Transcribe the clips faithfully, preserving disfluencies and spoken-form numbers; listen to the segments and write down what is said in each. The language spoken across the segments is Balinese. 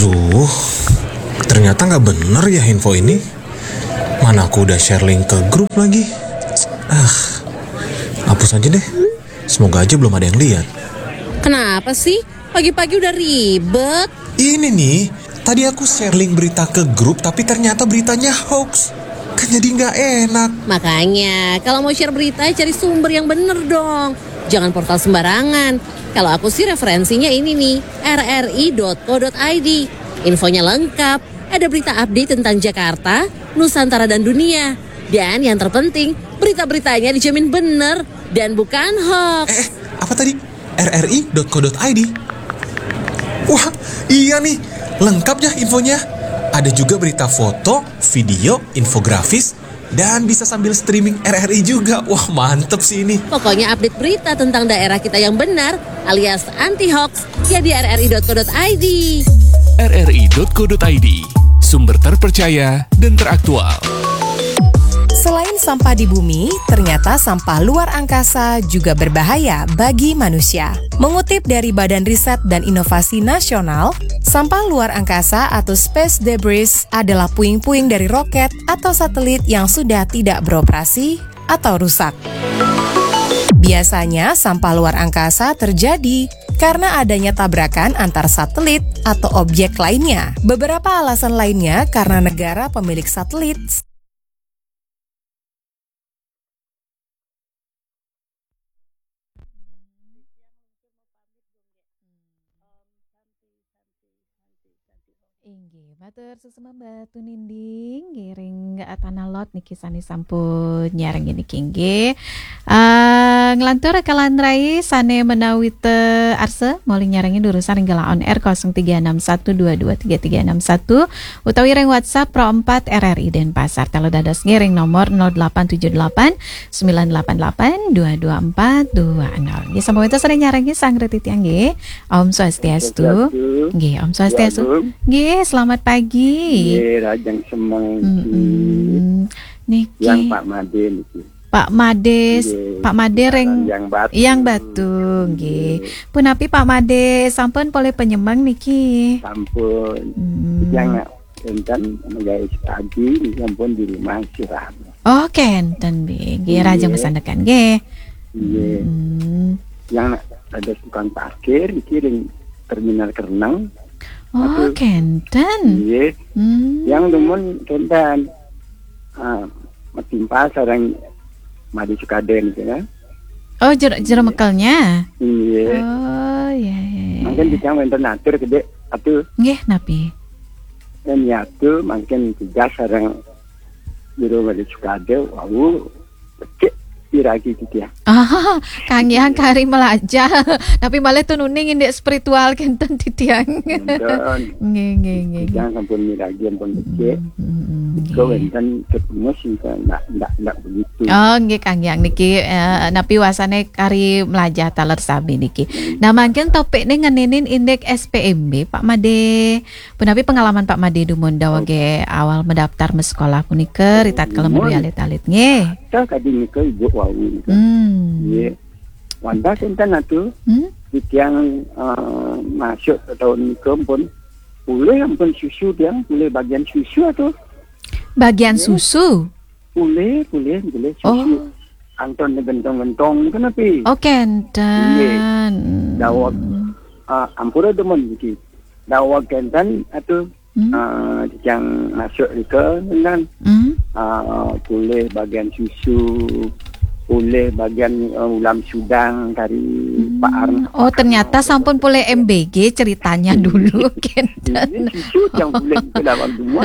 Uh, ternyata nggak bener ya info ini. Mana aku udah share link ke grup lagi. Ah, hapus aja deh. Semoga aja belum ada yang lihat. Kenapa sih? Pagi-pagi udah ribet. Ini nih, tadi aku share link berita ke grup, tapi ternyata beritanya hoax. Kan jadi nggak enak. Makanya, kalau mau share berita, cari sumber yang bener dong. Jangan portal sembarangan. Kalau aku sih referensinya ini nih, R R I dot co dot I D. Infonya lengkap, ada berita update tentang Jakarta, Nusantara dan dunia. Dan yang terpenting, berita-beritanya dijamin bener dan bukan hoax. Eh, eh, apa tadi? R R I dot co dot I D. Wah, iya nih, lengkap ya infonya. Ada juga berita foto, video, infografis, dan bisa sambil streaming R R I juga. Wah, mantep sih ini. Pokoknya update berita tentang daerah kita yang benar alias anti hoax ya di R R I dot co dot I D. R R I dot co dot I D, sumber terpercaya dan teraktual. Selain sampah di bumi, ternyata sampah luar angkasa juga berbahaya bagi manusia. Mengutip dari Badan Riset dan Inovasi Nasional, sampah luar angkasa atau space debris adalah puing-puing dari roket atau satelit yang sudah tidak beroperasi atau rusak. Biasanya sampah luar angkasa terjadi karena adanya tabrakan antar satelit atau objek lainnya. Beberapa alasan lainnya karena negara pemilik satelit Inggih, matur suksma Mbak Tuninding, ngiring Tanah Lot niki sane sampun nyareng niki inggih. Uh, ngelantur kalan rai sane menawita arsa moli nyarengi durusan ring on air kosong tiga enam satu dua dua tiga tiga enam satu utawi ring WhatsApp Pro empat R R I Denpasar. Telu dados ngiring nomor nol delapan tujuh delapan sembilan delapan delapan dua dua empat dua nol. Nggih, sampun wenten sane nyarengi sang retiti nggih. Om Swastiastu. Nggih, Om Swastiastu. Nggih, selamat pagi. Nggih, rajang semeng. Mm-mm. Niki. Yang Pak Made niki. Pak Made, Pak Made ring Yang Batu. Yang Batu, nggih. Punapi Pak Made sampun polih penyemeng niki? Sampun. Hmm. Yang enten megai sekadi sampun di rumah istirahat. Oh, kenten bi. Nggih, rajang masandekan nggih. Nggih. Hmm. Yang ada tukang parkir niki ring terminal Kereneng. Oh, kenten. Nggih. Hmm. Yang demen kenten. Ah, matimpal sareng Made Sukade niki ya. Oh, jero jero mekelnya. Iya. Oh, iya iya. Mungkin kita wenten atur gede atuh. Nggih, napi? Dan ya tuh mungkin tugas sareng jero Made Sukade wau cek piragi gitu ya. Ah, kang yang kari melajah. Tapi malah tuh nuning indik spiritual kenten titiang. Nggih nggih nggih. Jangan sampun miragi ampun becik. Iko wenten ketemu sih ndak ndak ndak begitu. Oh, nggih kang yang niki eh, napi wasane kari melajah taler sami niki. Nah, mangkin topikne ngeninin indik S P M B Pak Made. Punapi pengalaman Pak Made dumun dawage awal mendaftar mesekolah punika ritat kelem dwi alit-alit nggih. Saya tadi nika ibu wau nika. Hmm. Nggih. Wanda kenten atuh. Hmm? Tiang uh, masuk ke tahun nika pun boleh ampun susu tiang boleh bagian susu atuh. Bagian susu. Boleh, boleh, boleh susu. Oh. Anton gentong-gentong nika napi? Oh, kenten. Dawag uh, ampura demen niki. Dawag kenten atuh. Hmm? Uh, yang masuk nika kan hmm? Uh, boleh bagian susu, boleh bagian uh, ulam sudang kari hmm. Pak Arn. Oh, ternyata sampun boleh M B G ceritanya dulu kan. Ini susu yang boleh kita lawan dulu.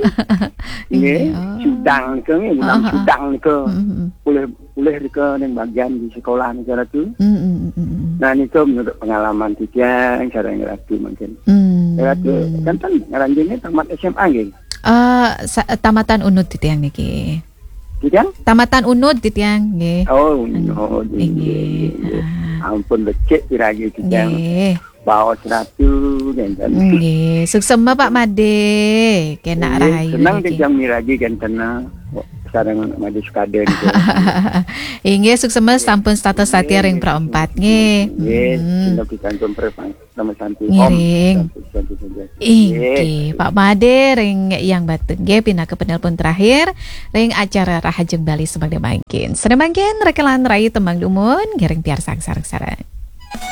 Ini oh. Sudang nika, ulam uh-huh. Sudang nika. Uh-huh. Boleh boleh nika ning bagian di sekolah nika Ratu. Mm, mm, mm, mm. Nah nika menurut pengalaman titiang sareng Ratu mungkin. Mm. Ratu kan kan ngaranjene tamat S M A nggih. Uh, tamatan Unud titiang niki. Titiang? Tamatan Unud titiang nggih. Oh, Unud. Nggih. Ampun becik piragi titiang. Nggih. Baos Ratu kenten. Nggih, suksema Pak Made, kenak rahayu. Senang titiang miragi kenten sareng Made Sukade. Inggih, suksema sampun status sati ring Pro empat nggih. Nggih, senang pikantuk perpang sama santi. Ngiring. Inggih, Pak Made ring Yang Batu nggih pinaka penelpon terakhir ring acara Rahajeng Bali semangda mangkin. Sedaya mangkin rekelan rayi tembang dumun ngiring piarsang sareng-sareng.